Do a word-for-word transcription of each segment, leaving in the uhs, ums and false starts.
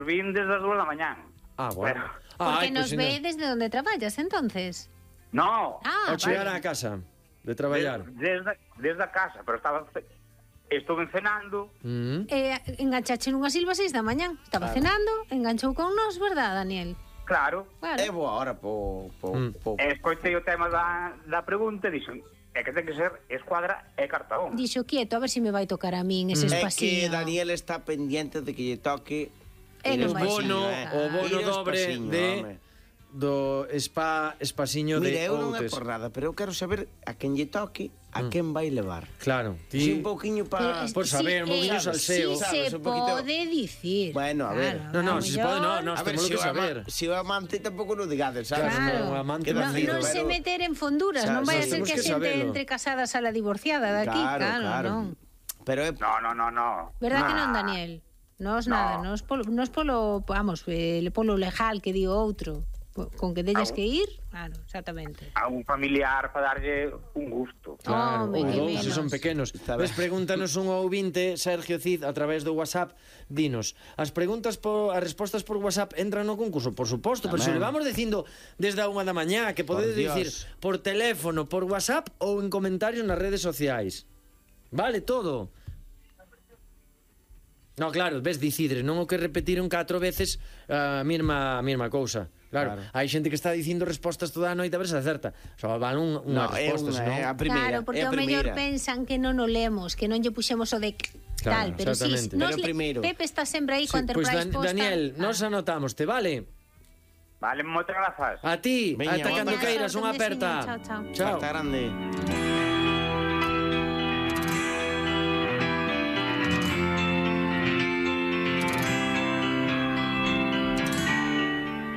vin desde as dúas da mañán. Ah, bueno. Pero- Ah, Porque ai, nos pues, ve ainda- desde donde traballas, entonces. No, Ah, Ao chegar vale. á casa de traballar. Des- desde, desde a casa, pero estaba ce- estuve cenando. Mm. Eh, enganchache nunha silva seis da mañán. Estaba Claro. cenando, enganchou con nos, verdad, Daniel? Claro, Claro. É boa hora po... po, Mm. po. e escoitei o tema da, da pregunta e dixen, é que ten que ser escuadra e cartabón. Dixo quieto, a ver se me vai tocar a min ese É espaciño. que Daniel está pendiente de que lle toque Eh, ir non ao vai espaciño, Bono, eh. o bono Ir ao dobre espaciño, de home. do spa espasiño Mira, de eu non é Outes. por nada, pero eu quero saber a quen lle toque, a quen vai levar. Claro, Si ti un pouquiño Pero pa... es- por saber, un poquinho eh, salseo. Si Sabes, se un poquito- pode dicir. Bueno, a ver. No, no, si se pode, no, no, A ver, temos si que o, ama, saber. si o amante tampouco non digades, sabes? Claro, Claro, o amante Queda non, fino, non se pero- meter en fonduras, Xa, non vai a xa, ser temos que a que xente sabelo. entre casadas a la divorciada daqui, Claro, claro, claro. non. Pero é... No, no, no, no. Verdad que Nah. non, Daniel? Nos No. nada, nos polo, nos polo, vamos, eh, polo legal que digo outro. Con que delles Au. que ir, claro, exactamente. A un familiar para darlle un gusto. Claro, Home, ou que dous, se menos. son pequenos. Está ben. Ves, pregúntanos un ouvinte, Sergio Cid, a través do WhatsApp, dinos, as preguntas por, as respostas por WhatsApp entran no concurso, por suposto, pero se Tamén. le vamos dicindo desde a unha da mañá, que podedes Por Dios. dicir por teléfono, por WhatsApp ou en comentarios nas redes sociais. Vale, todo. No, claro, ves, dicidre, non o que repetiron catro veces a mesma, a mesma cousa. Claro, Claro. hai xente que está dicindo respostas toda a noite a ver se acerta. Só van un, unha No, é resposta, unha, senón... é a primeira. Claro, porque é a ao mellor primeira. pensan que non o lemos, que non lle puxemos o de Claro, tal, pero si exactamente. nos Pero le- primeiro. Pepe está sempre aí Sí, con pois, Enterprise Dan- posta. Daniel, Ah. nos anotamos, te vale? Vale, moitas grazas. A ti, Veña, ata un cando abrazo. queiras, unha Un aperta. veciño, chao, chao. Chao. Carta grande.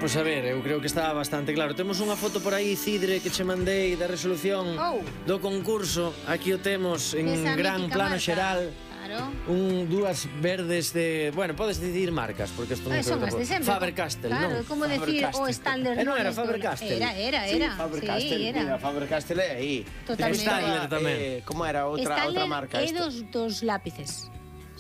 Pois a ver, eu creo que está bastante claro. Temos unha foto por aí, Cidre, que che mandei da resolución Oh. do concurso. Aquí o temos en Esa gran mítica plano marca. xeral. Claro. Un, dúas verdes de... Bueno, podes decidir marcas, porque isto non Eh, son creo as que de sempre. Faber-Castell, claro, non? é como decir o Faber-Castell. Stanley. Eh, non era Nones do- Faber-Castell. Era, era, era. Sí, Faber-Castell, Sí, era. mira, Faber-Castell é aí. Totalmente. Estaba, Stadler tamén. Eh, como era outra Stanley outra marca é esta? dos, dos lápices.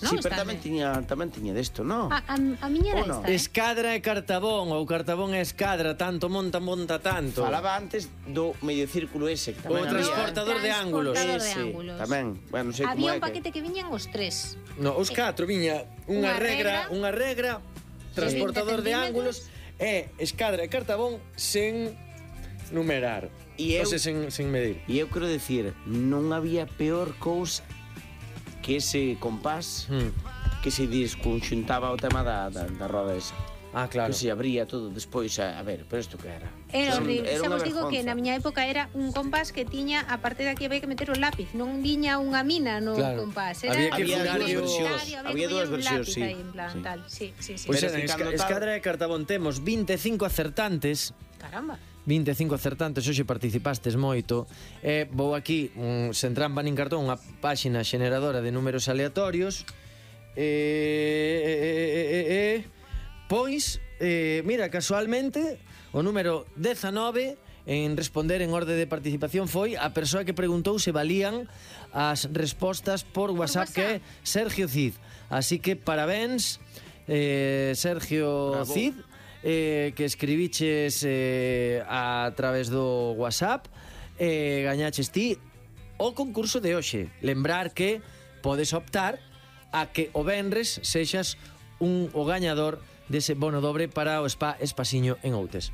¿no? Sí, pero Stanley. tamén tiña tamén tiña desto, ¿no? A, a, a miña era Ou non? esta, eh? Escadra e cartabón, ou cartabón e escadra, tanto monta, monta tanto. Falaba antes do medio círculo ese, que O tamén había. transportador de ángulos. Transportador de Ese, ángulos. tamén. Bueno, non sei como Había é un paquete que... que viñan os tres. No, os catro viña unha Unha regra, regra, unha regra, transportador de vinte ángulos e escadra e cartabón sen numerar. E eu- O sea, sen, sen medir. E eu quero decir, non había peor cousa que ese compás Hmm. que se desconxuntaba o tema da, da, da roda esa. Ah, claro. Que se abría todo despois, a, a ver, pero isto que era? Era Son- horrible. Xa unha vos digo que vergonza. na miña época era un compás que tiña, a parte de aquí había que meter o lápiz, non viña unha mina no Claro. compás. Era Había que Había furar dúas o- versións, había había que dúas poñer un versións, lápiz sí. aí, en plan, Sí. tal. Sí, sí, sí. Pois Pero eran es que esca- cando tal- escadra e cartabón temos vinte e cinco acertantes. Caramba. vinte e cinco acertantes, hoxe participastes moito. E vou aquí, un, sen trampa nin cartón, unha páxina xeneradora de números aleatorios. E, e, e, e, e pois, eh, mira, casualmente, o número dezanove en responder en orde de participación foi a persoa que preguntou se valían as respostas por WhatsApp, WhatsApp. que é Sergio Cid. Así que parabéns, eh, Sergio Bravo. Cid, eh, que escribiches eh, a través do WhatsApp, eh, gañaches ti o concurso de hoxe. Lembrar que podes optar a que o venres sexas un o gañador dese bono dobre para o Spa Espasiño en Outes.